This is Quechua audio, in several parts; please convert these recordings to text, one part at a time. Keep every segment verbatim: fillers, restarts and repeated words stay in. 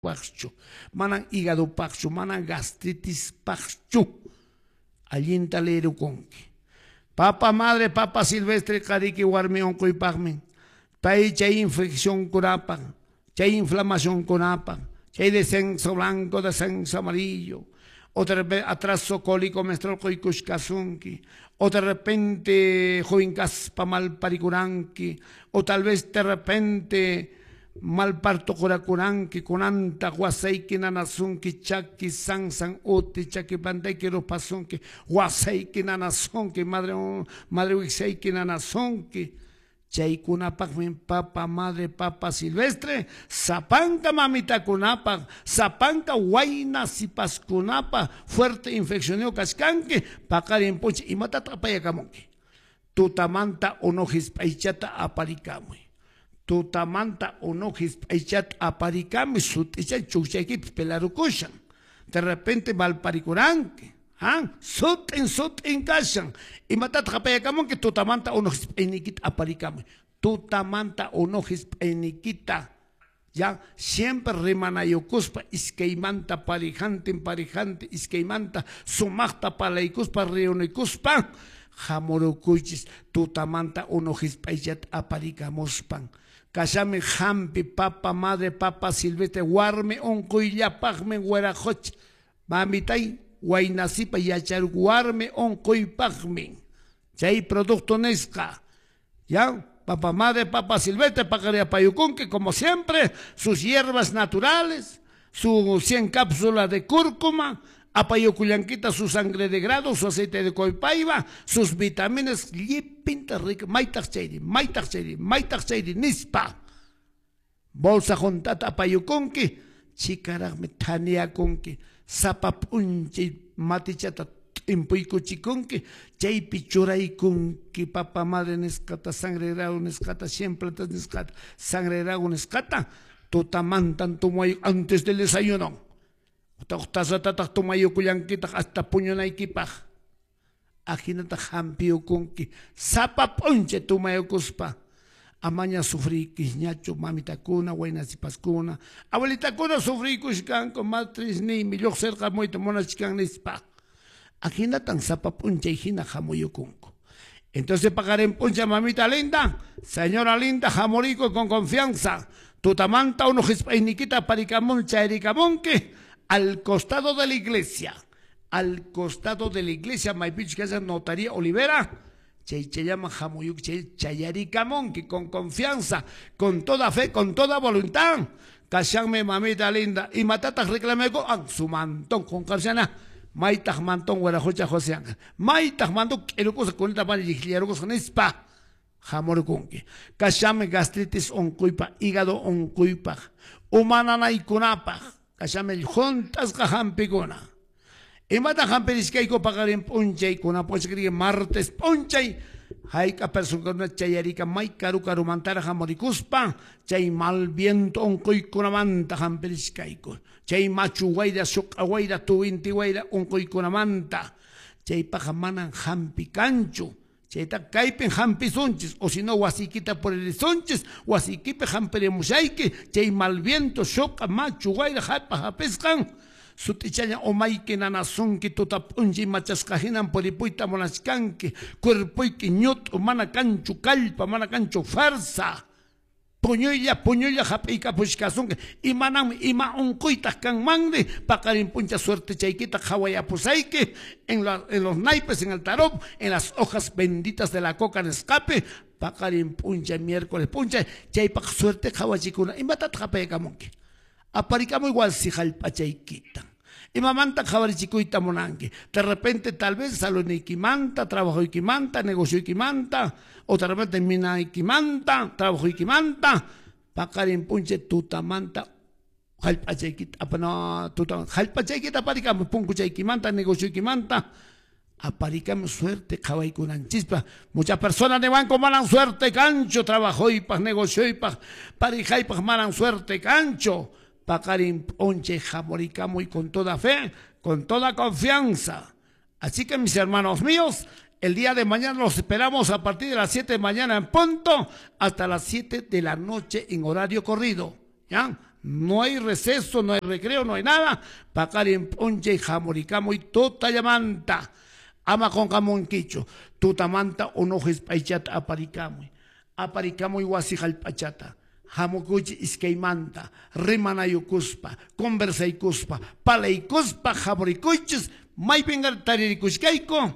Paqchu, manan hígado paqchu, manan gastritis paqchu. Allinta leerukunki. Papa madre, papa silvestre qariki warmi unquypaqmi. Pay chay infección kunapaq, chay inflamación kunapaq, chay descenso blanco, descenso amarillo. O de repente atraso cólico menstrual quykushkasunki, o de repente joven kaspa malparikuranki, o tal vez de repente mal parto qurakuranki, kunanta wasayki nanasunki, chaki sansan uti, chaki pantayki rupasunki, wasayki nanasunki, madre madre wiksayki nanasunki. Chaykunapaqmi papa madre, papa silvestre, sapanka mamitakunapaq, sapanka wayna sipaskunapaq, fuerte infeccionio kachkanki, paqarin p'unchay imatataq apayakamunki. Tutamanta unu hisp'aychata aparikamuy. Tutamanta unu hisp'aychata aparikamuy, sut'icha chukchaykipi pelarukushan. De repente malparikuranki. ¿Ah? Sut'in sut'in kashan. Imatataq apayakamunki? Tutamanta unu hisp'ayniykita aparikamuy. Tutamanta unu hisp'ayniykita. Ya siempre rimanayukuspa iskaymanta parijantin parijante iskaymanta sumaqta palaykuspa reunikuspa hamurukuychis tutamanta unu hisp'aychata aparikamuspan. Kashami hampi papa madre papa silvestre warmi unquyllapaqmi wiraqocha mamitay waynasipa yacharuk warmi unquypaqmi chay producto nisqa. Ya papa madre papa silvestre paqariapayukunki como siempre sus hierbas naturales, su cien cápsulas de cúrcuma, apayukullankita su sangre de grado, su aceite de coipaiba, sus vitaminas llipinta rica, maytaq chayri, maytaq chayri, maytaq chayri nispa. Bolsa juntata apayukunki, chikaraqmi thaniakunki, sapa p'unchay matichata t'impuykuchikunki, chaypi churaykunki papa madre nisqata, sangre grado nisqata, cien plantas nisqata, sangre grado nisqata, tutamantan tumay antes del desayuno. Tasatataq tumayukullankitaq hasta puñunaykipaq. Ajinataq hampiyukunki sapa p'unchay tumayukuspa. Amaña sufrikisñachu mamitakuna, waynasipaskuna, abuelitakuna sufrikushkanku, matrisniymi lluqsirqamuyta munachkan nispa. Ajinatan sapa p'unchay hina hamuyukunku. Entonces paqarin p'unchay mamita linda, señora linda, hamuriku con confianza. Tutamanta unu hisp'ayniykita aparikamun chayrikamunki al costado de la iglesia, al costado de la iglesia, maypichus kashan notaría Olivera, chay chayllaman hamuyuk chay chayarikamunki con confianza, con toda fe, con toda voluntad. Kashanmi mamita linda, imatataq reclamayku? Ah, su mantón con karshana, maytaq mantón wiraqucha José Ángel, maytaq mantón k'irukusqa kunita mana llikllarukusqa nispa hamurukunki. Kashanmi gastritis unquypaq, hígado unquypaq, uma nanaykunapaq, kashami juntasqa hampikuna. Imata hampirishkayku paqarin p'unchaykuna p'unchaykuna martes p'unchay hayk'a personakuna chayarika may karu karumantara hamurikuspa chay mal viento unquykunamanta hampirishkayku, chay machu wayra suq'a wayra tuwinti wayra unquykunamanta, chaypaqa manan hampi kanchu. Chayta kaypin hampisunchis, o si no wasiykita puririsunchis, wasiykipi hampirimushayki, chay mal viento suq'a machu wayra hap'a hapisqan sut'ichalla umayki nanasunki, tuta p'unchay machasqa hinan puripuyta munachkanki, cuerpuyki ñut'u mana kanchu kallpa, mana kanchu fuerza. Puñuylla puñuylla hap'iykapushkasunki, imananmi ima unquytaq kanmanri, paqarin p'uncha suerte chaykita qhawayapusayki en, la, en los naipes, en el tarot, en las hojas benditas de la coca nisqapi, paqarin p'unchay miércoles p'unchay chaypaq suerte qhawachikuna. Imatataq apaykamunki? Aparikamuy wasi hallp'achaykita. Imamanta qhawarichikuyta munanki? De repente tal vez saludniykimanta, trabajoykimanta, negocioykimanta, o de repente minaykimanta, trabajoykimanta, paqarin p'unchay tutamanta hallp'achaykita, no, tuta, hallp'achaykita aparikamuy, punkuchaykimanta, negocioykimanta, aparikamuy suerte qhawaykunanchispa. Muchas personas niwanku manan suerte kanchu, trabajoypaq, negocioypaq, parejaypaq manan suerte kanchu. Paqarin p'unchay hamurikamuy con toda fe, con toda confianza. Así que mis hermanos míos, el día de mañana los esperamos a partir de las siete de mañana en punto hasta las siete de la noche en horario corrido. ¿Ya? No hay receso, no hay recreo, no hay nada. Paqarin p'unchay hamurikamuy tutallamanta. Ama qunqamunkichu. Tutamanta unu hisp'aychata aparikamuy. Aparikamuy wasi hallp'achata. Hamukuychik iskaymanta, rimanayukuspa, conversaykuspa, palaykuspa, hamurikuychis, maypin taririkushkayku,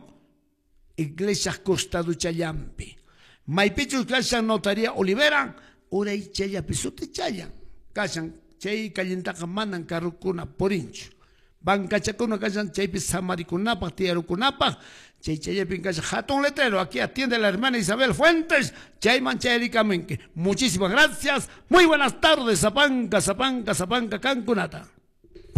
iglesia costaduchallampi. Maypichus kashan notaría Olivera, uray challapi sutichallan. Kashan chay callintaqa manan carrukuna purinchu. Bancachakuna kashan chaypi samarikunapaq, tiyarukunapaq, chay chayapin kashan hatun letrero, aquí atiende la hermana Isabel Fuentes, chayman chayrikamunki. Muchísimas gracias, muy buenas tardes, Sapanka, Sapanka, Sapanka, kankunata.